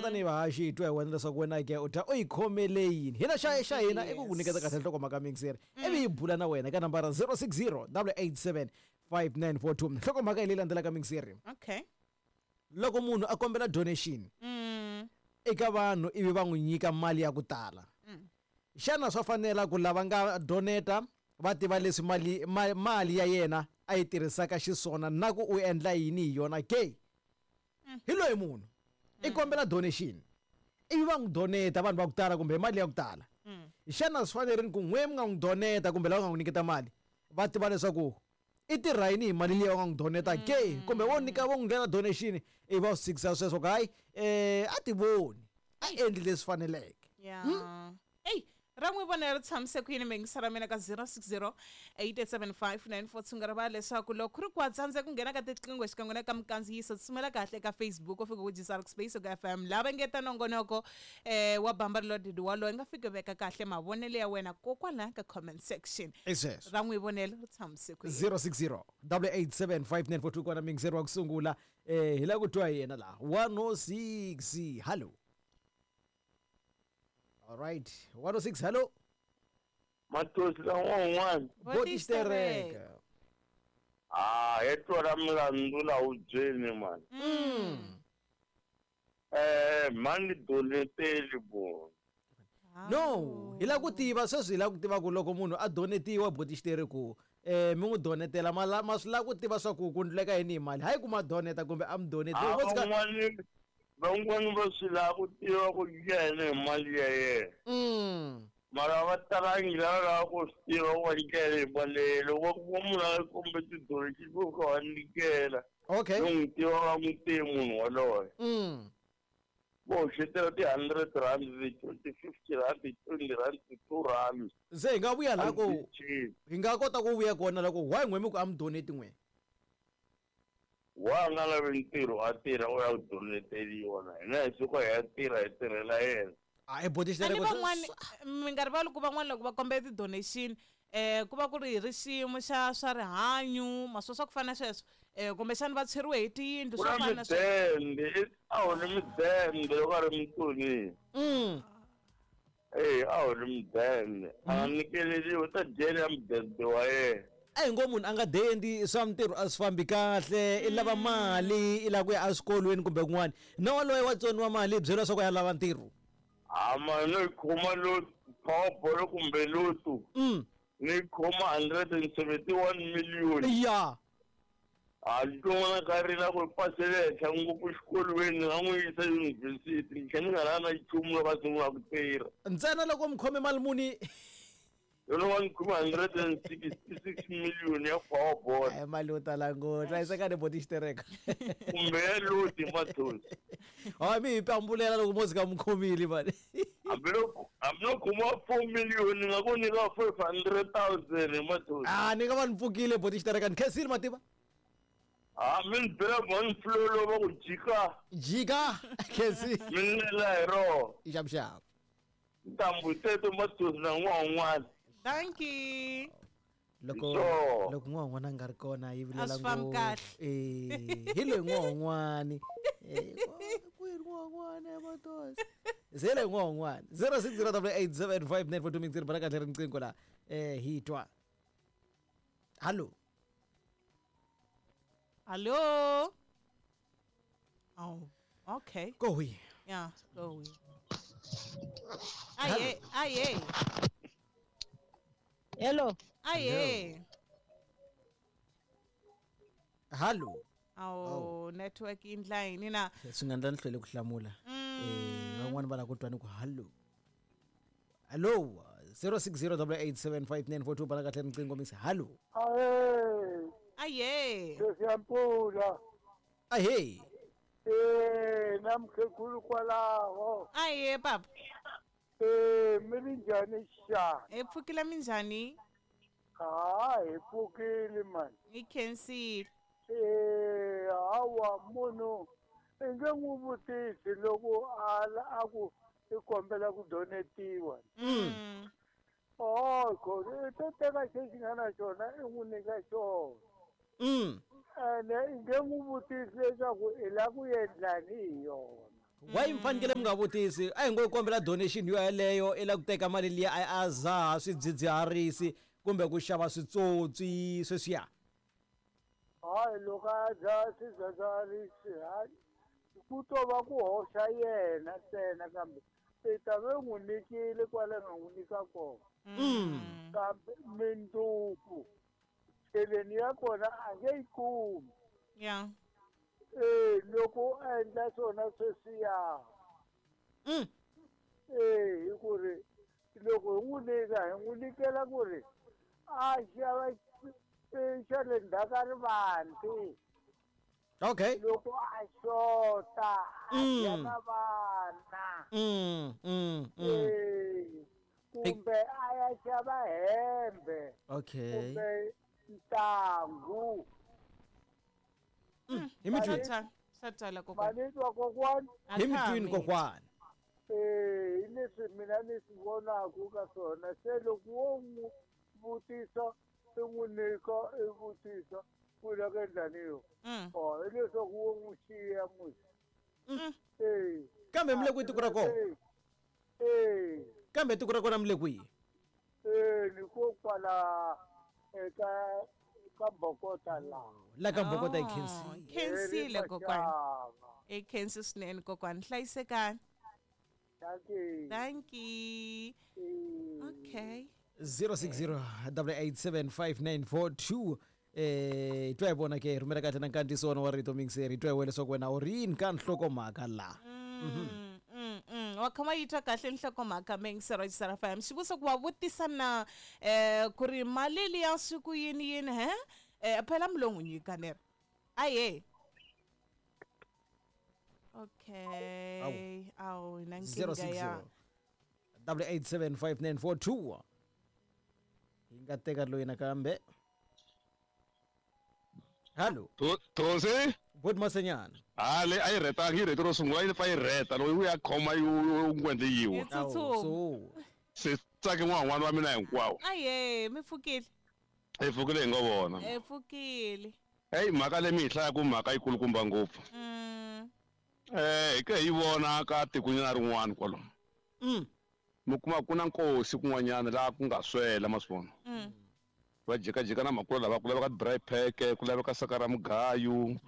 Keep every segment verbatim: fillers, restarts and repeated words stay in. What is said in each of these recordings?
Hina tanihi vahaxi hi twa hi wena leswaku wena ke u ta u yi khomele yini. Hina xa xa hina i ku ku nyiketa kahle nhlokomhaka mixer. Ivi hi bula na wena ka nambara zero six zero double eight seven five nine four two. Nhlokomhaka hi leyi landzelaka mixer. Okay. Loko munhu a kombela donation mm. eka vanhu ivi va n'wi nyika mali ya ku tala. Mm. Xana swa fanela ku lava nga doneta va tiva leswi mali, ma-, mali ya yena a yi tirhisaka xiswona na ku u endla yini hi yona ke? Mm. Hi loyi munhu i kombela donation ivi va n'wi doneta vanhu va ku tala kumbe mali ya ku tala. Mm. Xana swi fanerile ku n'we mi nga n'wi doneta kumbe lava nga n'wi nyiketa mali va tiva leswaku i tirha yini hi mali leyi va nga n'wi doneta ke? Mm. Kumbe wo nyika vo n'wi nghena donation ivi va swi tshikisa sweswo ku hayi, eh, a ti voni a endli leswi faneleke. Yeah. Hmm? Ey, ra n'wi vona ri tshamise ku yini mingisa ra mina ka zero six zero eight eight seven five nine four two nga rivala leswaku loko ku ri ku wa tsandzeka ku nghena ka tiqingho xikan'we na ka mikandziyiso tsumela kahle eka Facebook u fika ku G S R Space ka F M lava engeta nongonoko, eh, wa Bamba Reloaded walowo i nga fiki veka kahle mavonelo ya wena kokwala ka comment section. I sweswo. Ra n'wi vonela ri tshamise ku yini. zero six zero double eight seven five nine four two kona mingizeri wa ku sungula, eh, hi lava ku twa yena laha. one oh six, hello. All right, one oh six, hello. Matosi la un'wana. Boti Xitereka. Ah, hi twa milandzu la wu byeni man. Mm. Eh, mani doneteli bo. No, hi la ku tiva sweswi hi la ku tiva ku loko munhu a donetiwa Boti Xitereka ku, eh, mi n'wi donetela, ma la, ma swi lava ku tiva swa ku ku ndleka yini hi mali. Hayi ku ma doneta kumbe a mi doneti. Ah, Vo tshika van'wani, van'wani va swi lava ku tiva ku yena hi mali ya yena. Mm. Mara va talangi lava lava ku swi tiva ku va nyikela hi mali ya yena. Loko va kuma munhu a kombe ti-donation vo ka va nyikela. Okay. No n'wi tiva va n'wi tivi munhu waloye. Mm. Vo hoxetela ti-hundred rand, ti-fifty rand, ti-twenty rand, ti-two rand. Se hi nga vuya laha ku A ndzi cinci. hi nga kota ku vuya kona loko why n'we mi ku a mi donate n'we? Wa nga lavi ntirho a tirha u ya ku doneteriwa na hina hi suka hi ya tirha hi tirhela yena. A i Boti Xitereka Ani ku van'wani, mi nga rivali ku van'wani loko va kombela ti-donation, eh, ku va ku ri hi riximo xa swa rihanyo, maswo swa ku fana na sweswo, eh, kumbexana va tshweriwe hi tiyindlu, Ku swo na fana na sweswo. midende, a wu ni midende loko a ri mutsoniwa. Mm. Eh, a wu ni midende. A nga nyikeleriwi, u ta dyela ya mudende wa yena. A hi ngo munhu a nga dendi swa mintirho a swi fambi kahle, i lava mali, i lava ku ya eswikolweni kumbe kun'wana. Na waloye wa tsoniwa mali, i byeriwa leswaku a ya lava ntirho. Ha, mali no yi khoma lo Powerball kumbe Lotto. Mm. Ni yi khoma hundred and seventy-one million. Ya. Ha, ntsongwana ka ri na ku pasela henhla ngopfu xikolweni, ni nga n'wi yisa yunivhesiti, ni tlhela ni nga la na nchumu loko a sungula ku tirha. Ntsena loko mi khome mali muni? Loko va ni khome hundred and sixty-six million ya Powerball. Ai, mali yo tala ngopfu. Hlayiseka ni Boti Xitereka. Kumbe ya Lotto, Matosi. Hayi, mi hi pambulela loko mo tshika mi khomile, mani. Hambi loko, hambi loko khoma four million, ni nga ku nyika five hundred thousand, Matosi. Ah, ni nga va ni pfukile, Boti Xitereka. Ni khensile, mativa. Ah, mi ni byela mhani Flo lowu va ku jika. Jika, khensile. Mi ni lela hi rona. Xavuxavu. Ntambu teto, Matosi, na n'wana un'wana. Thank you. Loko So. loko n'wana un'wana a nga ri kona yi vilela A swi fambi ngopfu. kahle. Eh, hi loyi n'wana un'wana. Eh, ku ri n'wana un'wana ya Matosi. Se hi loyi n'wana un'wana. zero six zero double eight seven five nine four two mixer bala kahle riqingho la. Eh, hi twa. Hello. Hello. Oh, okay. Go we. Yeah, go we. Aye, aye. Hello. Aye. Hello. Oh, network in line na. Swi nga endla ni hlwele ku hlamula. Eh, van'wani va lava ku twa ni ku hello. Hello, zero six zero double eight seven five nine four two bala kahle riqingho mix. Hello. Aye. Aye. Sesiyampula. Ahe. Eh, namkhulu kwalaho. Aye, papa. Eh, mi ri njhani xa? Hi pfukile minjhani? Ha, hi pfukile man. Hi khensile. Eh, hawa munhu i nge n'wi vutisi loko a la, a ku i kombela ku donetiwa. Mm. Oh, khona i to teka xexi nga na xona i n'wi nyika xona. Mm. Ene i nge n'wi vutisi leswaku i lava ku endlani hi yona. Why mi fanekele mi nga vutisi? A hi ngo yi kombela donation yo yeleyo i la ku teka mali liya a a zaha swidzidziharisi kumbe ku xava switsotsi sweswiya. Hayi loko a dzaha swidzidziharisi hayi ku to va ku hoxa yena ntsena kambe i ta ve n'wi nyikile kwale nga n'wi nyika kona. Mm. Kambe mindzuku cheleni ya kona a nge yi kumi. Yeah. Eh loko a endla swona sweswiya. Mm. Eh hi ku ri loko hi n'wi nyika hi n'wi nyikela ku ri a xava xa le ndzhaku ka rivanti. Okay. Loko a xota a dya Mm. na vana. Mm, mm, mm. Eh kumbe a ya xava hembe. Okay. Kumbe ntangu. Mm. Hi mi twini. Swa swa twala kokwana. Mani twa kokwana. Hi mi twini kokwana. Eh hi leswi mina ni swi vonaka ka swona se loko wo n'wi vutisa i n'wi nyika i vutisa ku la ku endla ni yo. Mm. Oh hileswaku wo n'wi xiya musi. Mm. Eh. Kambe mi le kwihi tiko ra kona? Eh. Kambe tiko ra kona mi le kwihi? Eh ni ko kwala eka ka Bokota la. La ka Bokota i Oh, khensile. Khensile Eri kokwana. Mashava. I khensi swinene kokwana. Hlayisekani. Thank you. Thank you. Okay. zero six zero double eight seven five nine four two eh twa hi vona ke rhumela kahle na nkandziyiso wona wa rito mingiseri twa hi wena leswaku wena u ri yini ka nhlokomhaka laha. Mm, mm, mm. Wa khoma yi twa kahle nhlokomhaka mingisero ya J S R F M. Xivutiso ku wa vutisa na eh ku ri mali liya swi ku yini yini he? Eh phela mi lo n'wi nyika leri. Aye. Okay. Awu na zero nkingha six ya. zero double eight seven five nine four two hi nga teka loyi nakambe. Hallo. Thosi. Bot Masenyana. Ha le a yi rhetanga yi rheti ro sungula yi pfa yi rheta loko yi ya khoma yi ngwendle yiwa. Yi tsutsuma. So Se tsake n'wana wa mina hinkwawo. Aye, mi pfukile. Hi pfukile hi ngo vona. Eh pfukile. Hey mhaka leyi mi yi hlayaka mhaka yikulukumba ngopfu. Mm. Eh hi ke hi vona ka tikonyana rin'wana kwalomu. Mm. Mi kuma ku na nkosi kun'wanyana laha ku nga swela ma swi vona. Mm. Va jikajika na makula lava ku laveka dry pack ku laveka saka ra mugayo.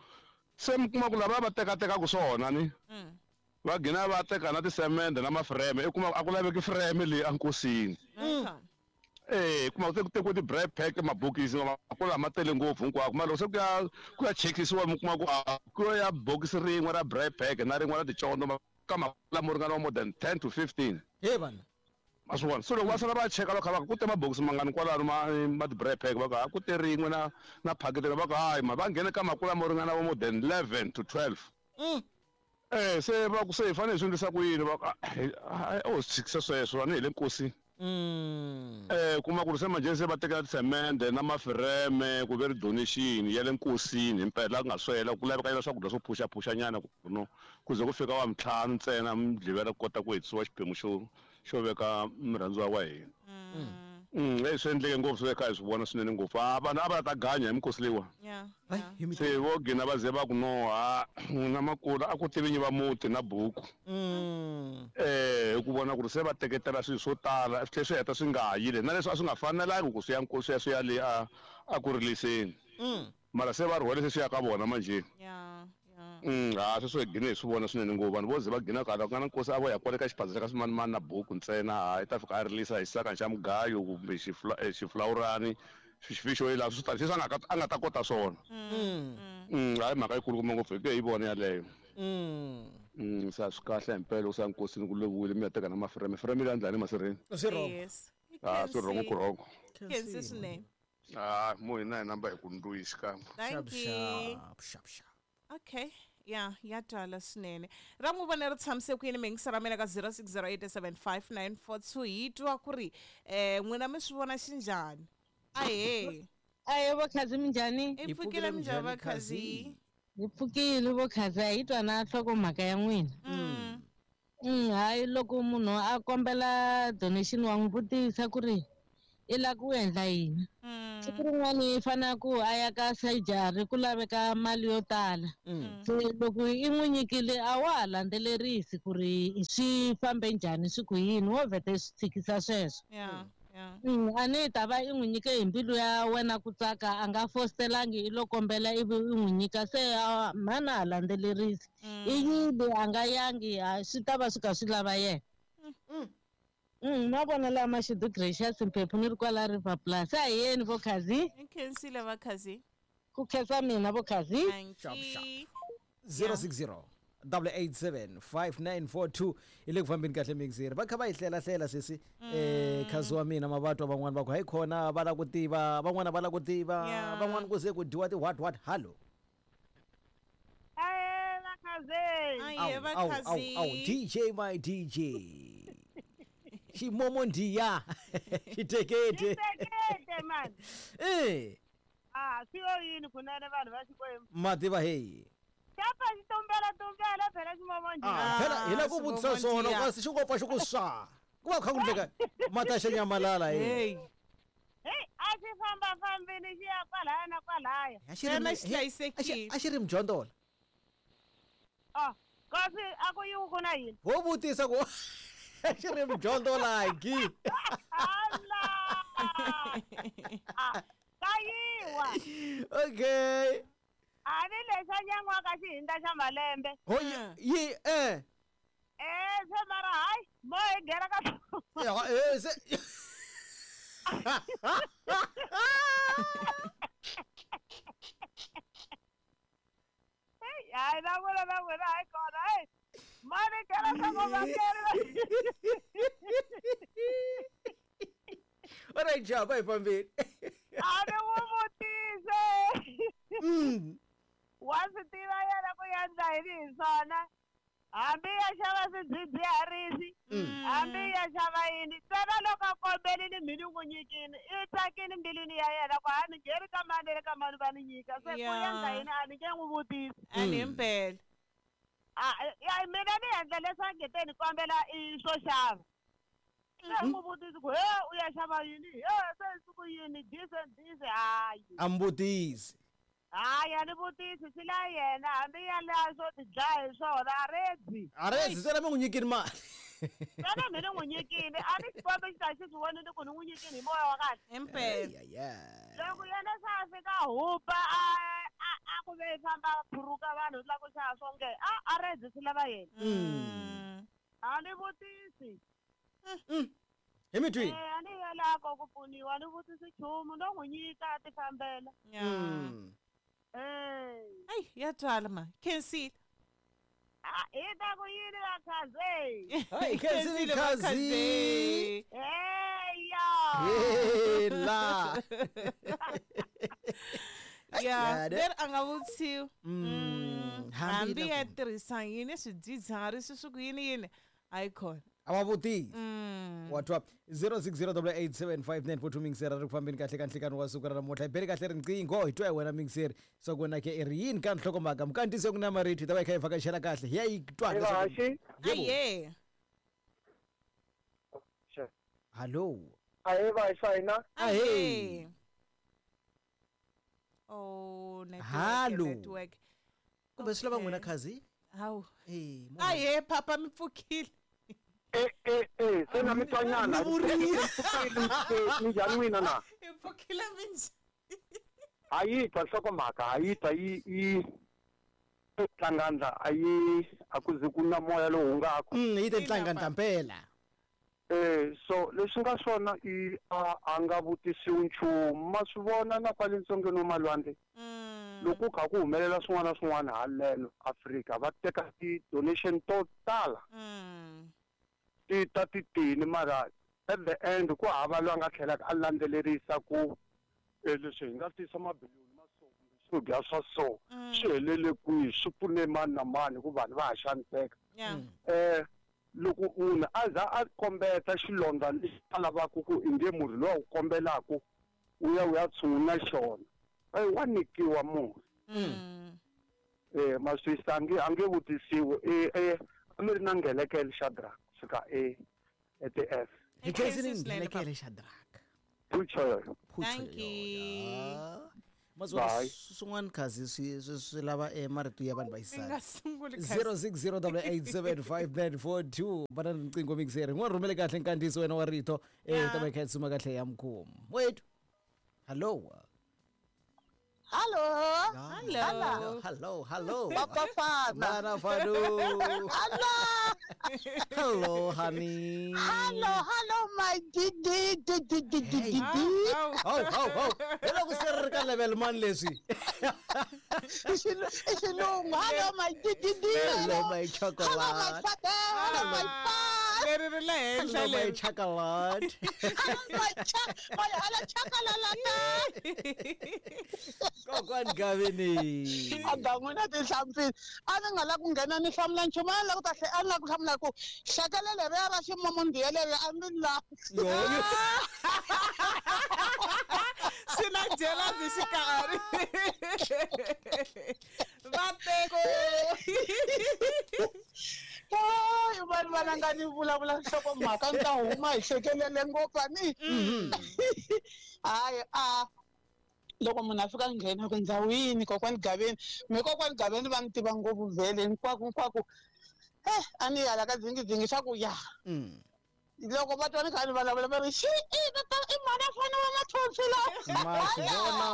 Se mi kuma ku lava va tekatekaka swona ni. Mm. Va gina va teka na tisemende na mafreme i kuma a ku laveki freme leyi enkosini. Mm. Eh kuma ku tekiwe ti-dry pack mabokisi makula ma tele ngopfu hinkwako mara loko se ku ya ku ya chekisiwa mi kuma ku a ku ya bokisi rin'we ra dry pack na rin'we ra ticondo ka makula mo ringana more than ten to fifteen. He vana. Ma swi vona so loko va sala va cheka loko va ku te mabokisi mangani kwalano ma ma ti-dry pack va ku ha ku te rin'we na na phakiti va ku hayi ma va nghene ka makula mo ringana vo more than eleven to twelve. Mm. Eh se va ku se hi fanele hi swi endlisa ku yini va ku o swi tshikisa sweswo a ni hi le nkosini. Mm. Eh kuma ku ri se manjhe se va tekela tisemende na mafireme ku ve ri donation ya le nkosini himpela ku nga swela ku laveka yela swakudya swo phuxaphuxanyana ku no ku ze ku fika wa mintlhanu ntsena mudlivela ku kota ku hetisiwa xiphemu xo xo veka murhandziwa wa hina. Mm eh swi endleke ngopfu swi kha hi swi vona swinene ngopfu. A vanhu a va ta ganya hi minkosi leyiwa. Yeah. Hayi hi mi Se vo gina va ze va ku no ha n'wina makula a ku tivi vinyi va muti na buku. Mm. Eh hi ku vona ku ri se va teketela swilo swo tala swi tlhela swi heta swi nga ha yile na leswi a swi nga fanelangi ku swi ya nkosi ya swi ya le a a ku riliseni. Mm. Mara se va rhwele se swi ya ka vona manjhe. Yeah. Yeah. Mm ha sweswo hi gine hi swi vona swinene ngopfu vanhu vo ze va gina kala ku nga na nkosi a vo ya kwale ka xiphaza xa ka swimanimani na buku ntsena ha i ta fika a rilisa hi xisaka xa mugayo kumbe xiflawurani xifixo yi laha swi tala sweswi a nga a nga ta kota swona. Mm. Mm hayi mhaka yikulukumba ngopfu hi ke hi vona yaleyo. Mm. Mm se a swi kahle himpela loko se a nkosini ku loviwile mi ya teka na mafreme freme leyi a ndlani masirheni. Swi wrong. Yes. Ah swi wrong ku wrong. Khensi swinene. Ah mo hina hi namba hi ku ndluyi xikan'we. Thank you. Sharp sharp sharp. Okay. Yeah, ya twala swinene. Ra n'wi vona ri tshamise ku yini miyingiselo ra mina ka zero six zero eight seven five nine four two hi twa ku ri eh n'wina mi swi vona xinjhani. Ahee. Aye bokhazi minjhani? I pfukile minjhani vakhazi? Hi pfukile bokhazi a hi twa na nhlokomhaka ya n'wina. Mm. Mm, hayi loko munhu a kombela donation wa n'wi vutisa ku ri i lava ku endla yini. Mm. Siku rin'wani i fanele ku a ya ka surgery ku laveka mali yo tala. Mm. Se loko i n'wi nyikile a wa ha landzelerisi ku ri swi fambe njhani swi ku yini wo vhete swi tshikisa sweswo. Yeah. Yeah. Mm, a ni ta va i n'wi nyike hi mbilu ya wena ku tsaka a nga fositelangi i lo kombela ivi i n'wi nyika se a mhana ha landzelerisi. I yile a nga yangi a swi ta va swi kha swi lava yena. Mm, ma vona laha Mashudu Gracious Mphephu ni ri kwala River Plus. A hi yeni vo Khazi. I khensile va Khazi. Ku khensa mina vo Khazi. Sharp, sharp. Thank zero six zero double eight seven five nine four two i le ku fambeni kahle mixer va kha va yi hlelahlela sesi eh khazi wa mina mavatwa van'wani va ku hayi khona va lava ku tiva van'wana va lava ku tiva Yeah. van'wana ku se ku dyiwa ti what what hallo Aye, va Khazi. Aye, va awu awu awu Khazi. D J my D J ximomo ndiya xitekete Xitekete man. eh Ah, swi yo yini kunene vanhu va Xikwembu. mativa heyi Xapa xi tumbela tumbela phela ximomo Ah, ndiya. phela hi lava ku vutisa ximomo swona ndiya. kasi xi ngo pfa xi ku swa ku va ku kha ku ndleka mata xa nyamalala he Hey. Hey, a xi famba fambini xi ya kwalaya na kwalaya. A xi ri Xana mi- xi he- a xi- hlayisekile? a xi ri mjondola Ah, kasi a ku yiwi ku na yini? ho vutisa ku a xi ri mjondolaki Ala! Ah, ka yiwa. okay A ni lexa nyan'waka xi hindza xa malembe. ho yi yi eh Eh, se mara hayi, mo hi nghena ka Ya, eh, se Hey, hayi na n'wina na n'wina hayi kona hey. Mo ni nghena ka vavakeri. alright jaba hi fambeni A ni n'wi vutise. Mm. Wa swi tiva yena ku ya endla yini hi swona. Hambi ya xava swidzidziharisi, hambi ya xava yini, ntsena loko a kombelini mi ni n'wi nyikini, i tsakini mbilwini ya yena ku a ni ngheni ka mani le ka mani va ni nyika. Se ku Ya. endla yini a ni nge n'wi vutisi. A ni himpela. A ya mina ni endla leswi nge te ni kombela i swo xava. Se n'wi vutisi ku he u ya xava yini, he se siku yini, this and this, hayi. a mbutisi Hayi a ni vutisi swi la yena hambi ya laha swo ti dlaya hi swona a redzi. a rezi ntsena mi n'wi nyikini mali Xana mi ni n'wi nyikini a ni xikombe xi ta xi swi vonile ku ni n'wi nyikini hi moya wa kahle. Himpela. Loko yena se a fika a hupa a a a ku ve i famba a phuruka vanhu la ku xava swo nge a a redzi swi lava yena. Mm. A ni vutisi. hi mi twini Eh a ni yelako ku pfuniwa a ni vutisi nchumu no n'wi nyika a ti fambela. Yeah. Mm. Eh. Ayi, ya twala ma. Khensile. Ah, hi ta ku yini va Khazi? Hayi, khensile Khensile va Khazi. Khazi. Eya. hela Ya, Ya, leri a nga vutisiwi. Mm, Mm, hambi Hambi ya loko- tirhisa yini swidzidziharisi swi ku yini yini hayi khona. a va vutisi Mm. wa twa zero six zero double eight seven five nine four two mixer ri ku fambeni kahle ka nhlikani wa siku ra namuntlha hi beli kahle riqingho hi twa hi wena mixer swa ku wena ke i ri yini ka nhlokomhaka mukantisi ku na marito hi ta va hi kha hi vhakachela kahle hi ya yi twa leswaku- Vahaxi Yebo. Aye. hallo ahe vahaxi hina Ahee. Aye. Oh, network, Hallo. network. kumbe swi lava n'wina Okay. khazi Hawu. Eh, mo- Aye, papa mi pfukile. e e e se na mi twanyana Ni vurile. minjhani n'wina na Hi pfukile minjhani? ha yi twa nhlokomhaka ha yi twa yi yi tlangandla a yi a ku ze ku na moya lowu hungaku Mm, yi te Ina, ntlangandla mpela eh so leswi nga swona i a a nga vutisiwi nchumu ma swi vona na kwale ntsongeni wa malwandle Mm. loko ku kha ku humelela swin'wana na swin'wana haleno Afrika va teka ti-donation to tala Mm. ti ta ti tini mara at the end ku hava loyi a nga tlhelaka a landzelerisa ku eh, leswi hi nga tisa mabiliyoni ma so kumbe swo dya swa so Mm. swi helele kwihi swi pfune mani na mani hikuva vanhu va ha xaniseka Yeah. eh loko munhu a za a kombeta xilondza lexi a lavaka ku i nge murhi lowu a wu kombelaka wu ya wu ya tshungula xona eyi wa nyikiwa murhi Mm. eh maswisa a nge a nge vutisiwi e e a mi ri na ngelekele Shadrack kusuka e E T F hi khensini Khensile swinene, papa. nghelekele xa draka Phucho yoyo. Thank you. Mazwana Bye. swin'wana khazi swi swi swi lava eh, marito ya vanhu va Mi xisati nga sunguli khazi. zero six zero double eight seven five nine four two vana ni riqingho mixer n'wana rhumele kahle nkandziyiso wena wa rito eh Yeah. ta va yi kha yi suma kahle ya mkhumu wethu hallo Hallo. Hallo. hello hello Papa Fana. mana fanu Hallo. hello honey Hallo, hallo my didi didi didi Hey. didi. Awu, ho ho ho hi loko se ri ri ka level mani leswi I xilu- i xilungu. Hallo my didi didi. hello my Hello my chocolate father. Hello my father. leri ri le henhla hello my leri. chocolate Hello my cha my hello chakalala. kokwani gavini A n'wina tinhlampfini a ni nga lavi ku nghena ni hlamula nchumu a ni lava ku ta hle a ni lava ku hlamula ku xekele leriya ra ximumundiya leriya a ni lavi Yo. Swi na jealousy xikarhi. Vateko. Hayi vanhu valanga ni vulavula nhlokomhaka ni ta huma hi hlekelele ngopfu a ni hayi a loko munhu a fika a nghena ku ndhawini kokwani gaveni me kokwani gaveni va ni tiva ngopfu vhele hinkwako hinkwako e a ni yala ka dzingidzingi swa ku ya Mm. loko va twa ni kha ni vulavula va ri xi i tata i mhana fana wa mathonsi lawa ma swi vona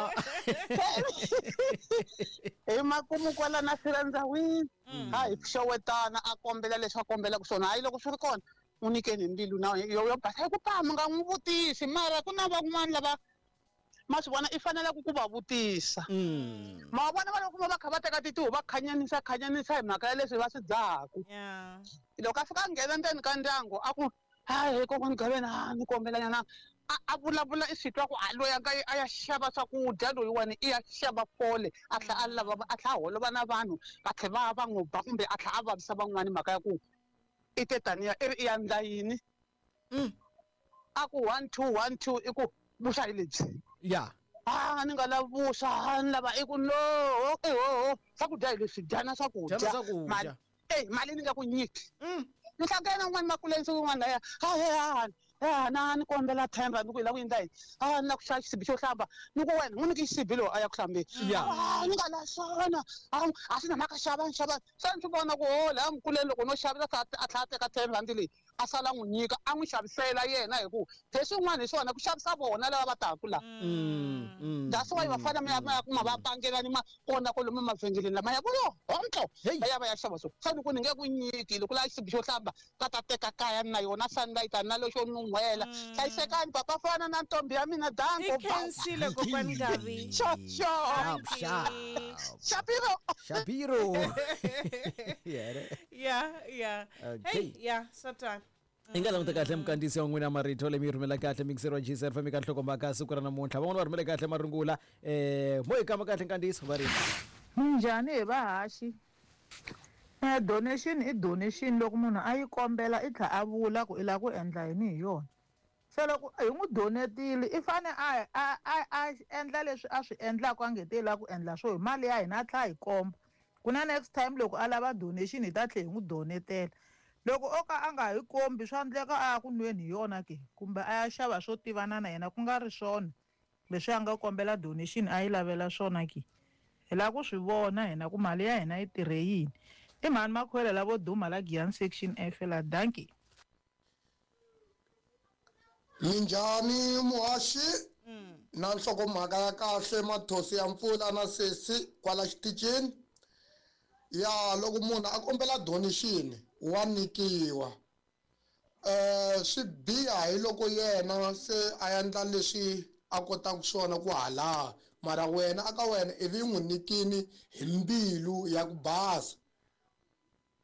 hi makumu kwala na sila ndzawini ha hi xewetana a kombela leswi a kombelaka swona hayi loko swi ri kona n'wi nyikeni hi mbilu na yo yo basa hi ku pa mi nga n'wi vutisi mara ku na van'wani lava ma swi vona i faneleke ku va vutisa Mm. ma vona va loko va kha va teka titihu va khanyanisa khanyanisa hi mhaka ya leswi va swi dzahaku Yeah. loko a fika a nghena ndzeni ka ndyangu a ku hayi kokwani gaveni a ni kombelanyana a a vulavula i swi twa ku a loyi a nga yi a ya xava swakudya loyiwani i ya xava fole a tlhela a lava a tlhela a holova na vanhu va tlhela va va n'wi ba kumbe a tlhela a vavisa van'wani mhaka ya ku i te taniya i ri i ya ndla yini a ku one two one two i ku vuswa hi lebyi ya a ni nga lavi vuswa a ni lava i ku no i hoho swakudya hi leswi dyana swakudya Dyana swakudya. Mali- eh mali ni nga ku nyiki ni hlangana un'wana makuleni siku rin'wana laya a a na ni kombela ten rand ku hi lava ku endla yini a ni lava ku xava xisibi xo hlamba ni ku wena n'wi nyike xisibi lowu a ya ku hlambeni Ya. a ni nga la swona a a swi na mhaka xava ni xava se ni swi vona ku ho laya mukuleni loko no xavisa a tlhela a teka ten rand leyi a sala n'wi nyika a n'wi xavisela yena hi ku leswin'wana hi swona ku xavisa vona lava va taku laha Mm, mm, that's why mm, va fanele ma ya ma ya kuma va pangelani ma kona kwalomu mavhengeleni lama ya ku yo hontlo Hey. va ya va ya xava so se ni ku ni nge ku nyiki loko la xisibi xo hlamba ka ta teka kaya na yona sunlight na lexo nun'hwela hlayisekani papa fana na ntombi ya mina I danko khensile kokwani Gavi. xo xo Sharp, sharp. shapiro Shapiro. Yeah. Yeah, yeah. Okay. Hey, yeah, swa hi nga languta kahle mikandziyiso ya n'wina marito leyi mi yi rhumela kahle mixer wa G S F mi ka nhlokomhaka siku ra namuntlha van'wana va rhumele kahle marungula um mo hi kamba kahle nkandziyiso va ri Minjhani hi vahaxi? Eh, donation i donation loko munhu a yi kombela i tlhela a vula ku i lava ku endla yini hi yona. Se loko hi n'wi donetile i fane a a a a endla leswi a swi endlaka a nge te i lava ku endla swo hi mali ya hina a tlhela a hi komba. Ku na next time loko a lava donation hi ta tlhela hi n'wi donetela. Loko o ka a nga hi kombi swa endleka a ya ku nweni hi yona ke kumbe a ya xava swo tivana na yena ku nga ri swona leswi a nga kombela donation a yi lavela swona ke. Hi lava ku swi vona hina ku mali ya hina yi tirhe yini. I mhani Makhwela lavo duma la Giyani section F la dankie. Minjhani muhaxi na nhlokomhaka ya kahle mathosi ya mpfula na sesi kwala xitichini ya loko munhu a kombela donation wa nyikiwa eh swi biha hi loko yena se a endla leswi a kotaka swona ku hala mara wena aka wena ivi n'wi nyikini hi mbilu ya ku basa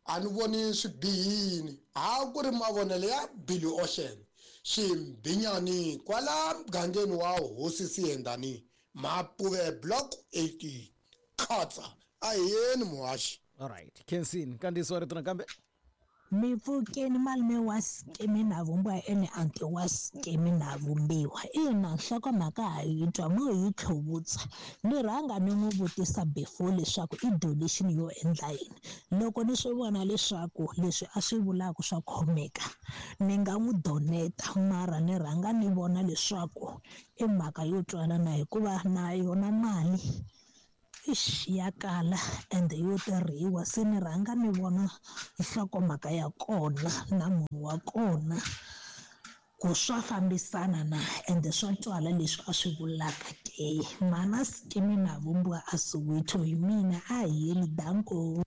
a ni voni swi bihini ha ku ri mavonelo ya Billy Ocean ximbinyani kwala mugangeni wa hosi Siyendani Mapuve block eighty khatsa a hi yeni muhaxi alright kensin nkandziyiso wa rito nakambe Mi pfukeni malume wa Skimi na vumbiwa ene anti wa Skimi na vumbiwa. Ina nhlokomhaka ha yi twa mo yi tlhuvutsa. Ni rhanga ni n'wi vutisa before leswaku i donation yo endla yini. Loko ni swi vona leswaku leswi a swi vulaka swa khomeka, ni nga n'wi doneta mara ni rhanga ni vona leswaku i mhaka yo twala na hikuva na yona mali ish ya kala ende yo tirhiwa, se ni rhanga ni vona nhlokomhaka ya kona na munhu wa kona ku swa fambisana na ende swa twala leswi a swi vulaka ke. Mana Skimi na vumbiwa a Soweto hi mina a hi yeni danko.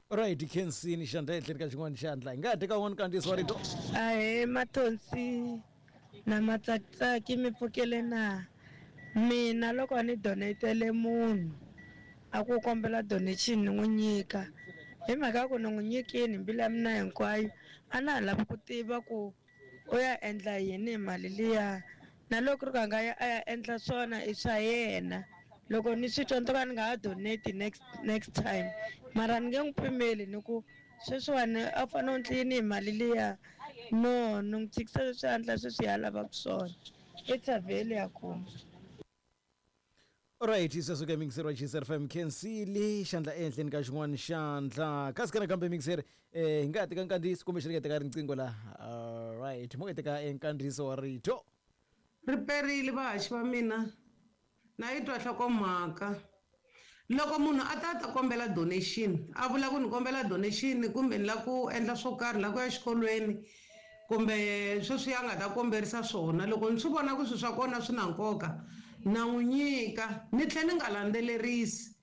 Right, Kensini xandla etlhelo ka xin'wana xandla hi nga ha teka wun'wana kandziyiso wa rito. Ahee Mathonsi na Matsakitsaki, mi pfukele na? Mina loko ni donatele munhu a ku kombela donation ni n'wi nyika, hi mhaka ya ku ni n'wi nyikini hi mbilu ya mina hinkwayo, a na ha lavi ku tiva ku u ya endla yini hi mali liya, na loko ri ku a nga ya a ya endla swona i swa yena. Loko ni swi twa ni to ka ni nga ha donate next next time, mara ni nge n'wi pimeli ni ku sweswiwani a fanele u endle yini hi mali liya, no ni n'wi tshikisa leswi a endla sweswi a lavaka swona, i thavheli ya kuma. Alright, sweswo ka mixer wa G S F M Kensili xandla ehenhleni ka xin'wana xandla kasi kana kambe mixer eh hi nga ha teka nkandziyiso kumbe xi nga teka riqingho la. Alright, mo teka nkandziyiso wa rito. Ri perile vahaxi va mina, na yi twa nhlokomhaka. Loko munhu a ta ta kombela donation, a vula ku ni kombela donation kumbe ni lava ku endla swo karhi, la ku ya xikolweni kumbe sweswi a nga ta komberisa swona, loko ni swi vona ku swilo swa kona swi na nkoka na n'wi nyika, ni tlhela ni nga landzelerisi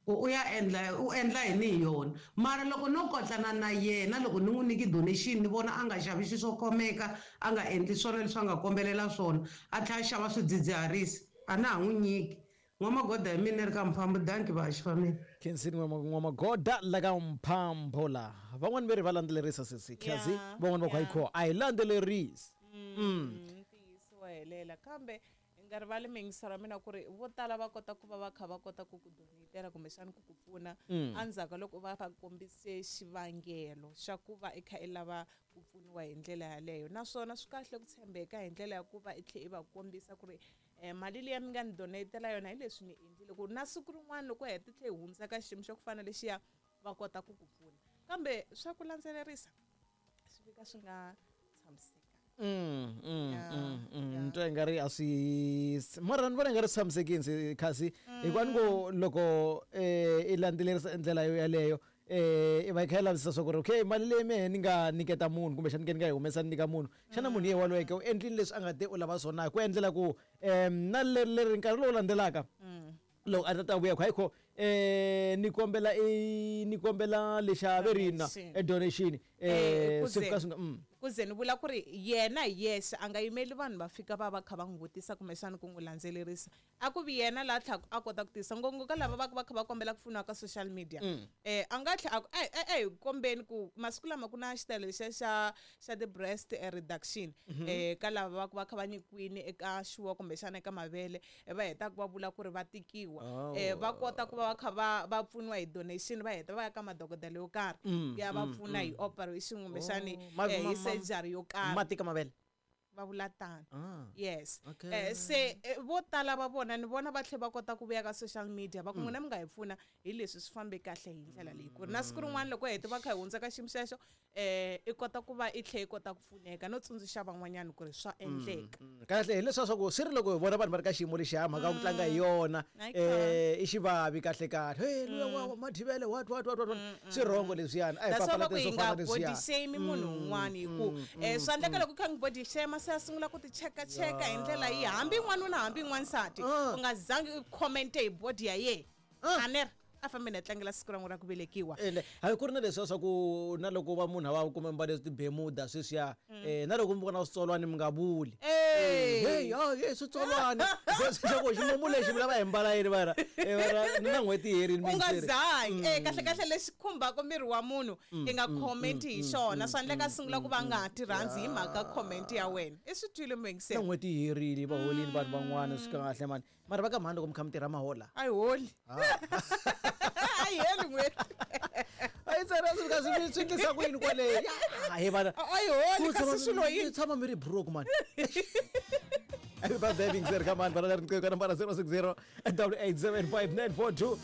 ku u ya endla u endla yini hi yona. Mara loko no kotlana na yena, loko ni n'wi nyiki donation ni vona a nga xavi xilo swo khomeka, a nga endli swona leswi a nga kombelela swona, a tlhela a xava swidzidziharisi, a na ha n'wi nyiki. N'wamagoda hi mina ri ka Mphambo, danki vahaxi va mina. Khensini N'wamagoda la ka Mphambo la. Van'wani ve ri va landzelerisa sesi Khazi, van'wani va ku hayi a hi landzelerisi. Ntiyiso wa helela, kambe hi nga rivali miyingiselo ya mina ku ri vo tala va kota ku va va kha va kota ku ku donatela kumbexana ku ku pfuna endzhaku ka loko va va kombise xivangelo xa ku va i kha i lava ku pfuniwa hi ndlela yaleyo. Naswona swi kahle ku tshembeka hi ndlela ya ku va i tlhela i va kombisa ku ri eh mali liya mi nga ni donatela yona hi leswi ni endlile, ku na siku rin'wana loko heta tlhe hi hundza ka xiyimo xa ku fana lexiya va kota ku ku pfuna. Kambe swa ku landzelerisa swi fika swi nga tshamiseki. Mm mm mm mm twa nga ri a swi mara ni vona nga ri tshamisekini kasi hikuva ni ku loko eh i landzelerisa ndlela yo yaleyo eh i va i kha i lavisisa swa ku ri okay mali leyi mehe ni nga nyiketa munhu kumbe xana ni nga yi humesa ni nyika munhu, xana munhu ye waloyeke u endlile leswi a nga te u lava swona, ku endlela ku um na leri leri nkarhi lowu landzelaka loko a ta ta vuya ku hayi kho eh ni kombela i ni kombela lexa ve ri na e donation eh swi fika swi nga kuze ni vula ku ri yena hi yexe a nga yimeli vanhu va fika va va kha va n'wi vutisa kumbexana ku n'wi landzelerisa, a ku vi yena laha tlhaka a kota ku tisa ngopfungopfu ka lava va va kha va kombela ku pfuniwa ka social media. Eh a nga tlhela a ku e e kombeni ku masiku lama ku na xitayele lexiya xa xa ti-breast reduction eh ka lava va ku va kha va nyikiwile eka xuwa kumbexana eka mavele va hetaka va vula ku ri va tikiwa, eh va kota ku va va kha va va pfuniwa hi donation, va heta va ya ka madokodela yo karhi ya va pfuna hi operation kumbexani hi surgery yo karhi. Matika mavele va vula tano. Yes. Eh se vo tala va vona ni vona va tlhela va kota ku vuya ka social media va ku n'wina mi nga hi pfuna hi leswi swi fambe kahle hi ndlela leyi, ku ri na siku rin'wana loko heta va kha hi hundza ka xiyimo xexo eh i kota ku va i tlhela i kota ku pfuneka no tsundzuxa van'wanyana ku ri swa endleka. Kahle hi leswiya swa ku swi ri loko hi vona vanhu va ri ka xiyimo lexiya mhaka ku tlanga hi yona eh i xivavi kahle kahle hey luya wa Mathivele what what what what swi wrong leswiyani a hi papalata swo fana leswiya. Body shame munhu un'wana hi ku eh swa endleka loko kha ngi body shame se a sungula ku ti cheka cheka hi ndlela yi hambi n'wanuna hambi n'wansati u nga zangi u comment hi body ya yena a a fambe na tlangela siku ra n'wina ra ku velekiwa. Hayi ku ri na leswiya swa ku na loko va munhu a va kume mbale tibemuda sweswiya eh na loko mi vona switsolwani mi nga vuli hey hey switsolwani swa ximumu lexi mi lava hi mbala yini vana na n'hweti herini u nga zangi eh kahle kahle lexi khumbaka miri wa munhu i nga comment hi xona, swa endleka sungula ku va nga ha ti rhandzi hi mhaka comment ya wena i swi twile muyingiseri. Na n'hweti herini va holini vanhu van'wana swi kahle mani mara va ka mhani loko mi kha mi tirha mahola a yi holi a yi heli n'hweti a Yi tsena swi fika swi swi endlisa ku yini kwale? Ya, he vana. A yi holi Ku kasi tshama- swilo yini? mi tshama mi ri broke man. Happy birthday Big Zero, come on, bana riqingho ka nambara zero six zero double eight seven five nine four two.